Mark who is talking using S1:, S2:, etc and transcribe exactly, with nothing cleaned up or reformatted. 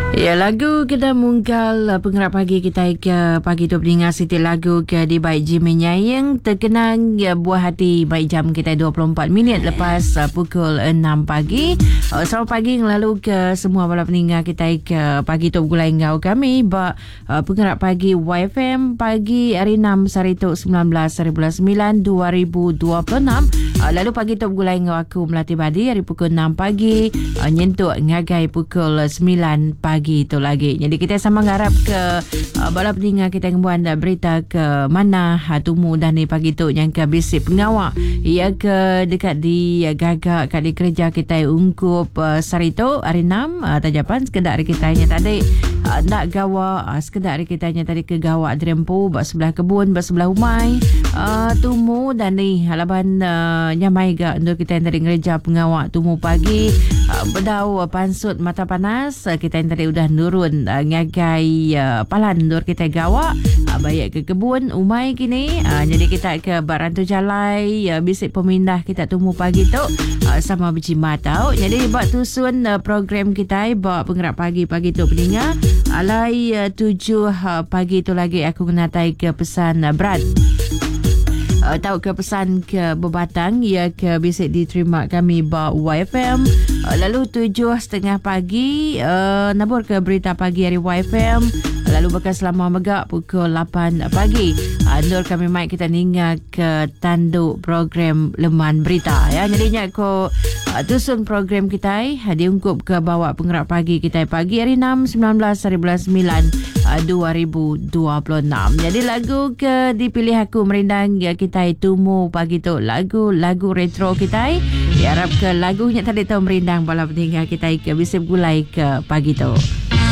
S1: Ya, lagu kita mungkal uh, pengerak pagi kita ke pagi tu pendengar siti lagu ke di baik Jimmy Nyayeng terkenang ya, buah hati baik jam kita dua puluh empat minit lepas uh, pukul enam pagi. Uh, selamat pagi lalu ke semua bala pendengar kita ke pagi tu gulai ngau kami ba uh, pengerak pagi Y F M pagi hari enam hari tu sembilan belas hari bulan sembilan dua ribu dua puluh enam. Uh, lalu pagi tu gulai ngau aku Melati Badi hari pukul enam pagi uh, nyentuk ngagai pukul sembilan pagi itu lagi. Jadi kita sama ngarap ke uh, bala pendengar kita ngembuan uh, berita ke mana uh, tumu dah ni pagi tu yang ke bisik pengawak ia ke dekat di uh, gagak kat di kerja kita ungkup uh, sehari tu hari enam uh, tajapan sekedar hari kita nya tadi uh, nak gawa uh, sekedar hari kita nya tadi ke gawak derempu bak sebelah kebun bak sebelah umai uh, tumu dan ni halaban uh, nyamai ga untuk kita yang tadi ngereja pengawak tumu pagi uh, bedau uh, pansut mata panas uh, kita yang tadi udah nurun uh, ngagai uh, palan nur kita gawak uh, baik ke kebun umai kini uh, jadi kita ke Barantu Jalai uh, bisik pemindah kita tumu pagi tu uh, sama berjimat tau. Jadi buat tusun uh, program kita buat penggerak pagi-pagi tu pendengar alai uh, tujuh uh, pagi tu lagi aku menatai ke pesan uh, berat. Uh, tahu ke pesan ke berbatang ia ke bisik diterima kami ba Y F M. Uh, lalu tujuh setengah pagi uh, nabur ke berita pagi hari Y F M. Lalu bakal selama megak pukul lapan pagi. Uh, Nur kami mic kita ninga ke tanduk program Leman Berita ya. Jadinya ko uh, tusun program kita uh, diungkup ke bawa penggerak pagi kita pagi hari enam sembilan belas hari bulan sembilan dua ribu dua puluh enam. Jadi lagu ke dipilih aku merindang ya kita tumu pagi tu lagu-lagu retro kita. Ya harap ke lagunya tadi tahu merindang bala pendengar kita ke bisa gulai ke pagi tu.